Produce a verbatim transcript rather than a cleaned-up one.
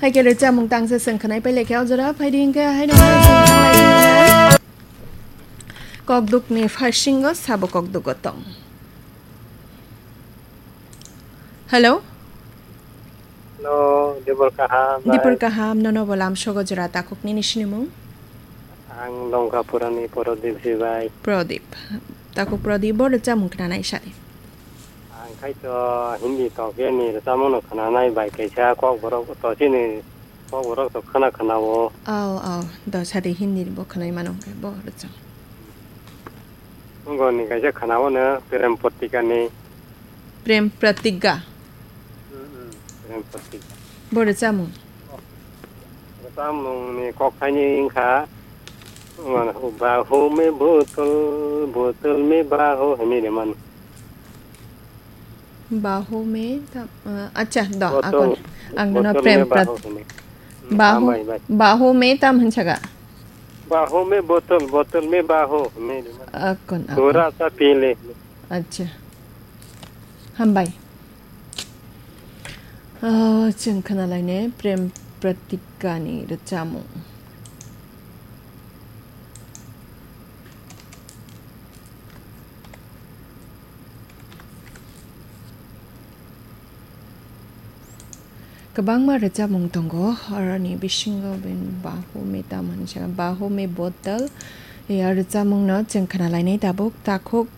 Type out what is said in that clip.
Hai khe rwchapmung tangsa chwng khwnai pailai khe o jora phaidi hwnkhe haino kokdukni pharsingo sabo kokdugo tong. Hello? Hello, Dipor kaham, Dipor bai. Kaham, nono bo lamsogo jora takhuk nini sinimung? Ang Longkapurani Prodip si bai. Prodip. Takhuk Prodip, bo rwchapmung khwnanai sadi. Ang khai to Hindi tokya ni rwchapmung no khwnanai bai kaisa kok borok to chini kok borok to khwna khwna o. Aw, aw, do sadi Hindi bo khwnai mano hwnkhe bo rwchap. Ungoni kaisa khwna o no Prem Pratika ni. Prem Pratika. Hmm, hmm, Prem Pratika. Bo rwchapmung. Rwchapmung ni kok thaini wngkha, mano, "Bahu me botol, botol me bahu," hinwi rwmani. Bahu me ta-, uh, acha, do, botol, akon. Ang nono botol Prem me Prat-, bahu hinwi. Hmm, bahu, hambai, bai. Bahu me tam hinsaga? Bahu me botol, botol me bahu hinwi rwmani. Akon, akon. Pura ta pile. Acha. Hambai. Ah, chwng khwnalainai Prem Pratikani rwchapmung. Kwbangma rwchapmung tongo, oroni bisingo ben Bahu me tam hinwi sa, Bahu me botol, ya rwchapmungno chwng khwnalainai tabuk takhuk.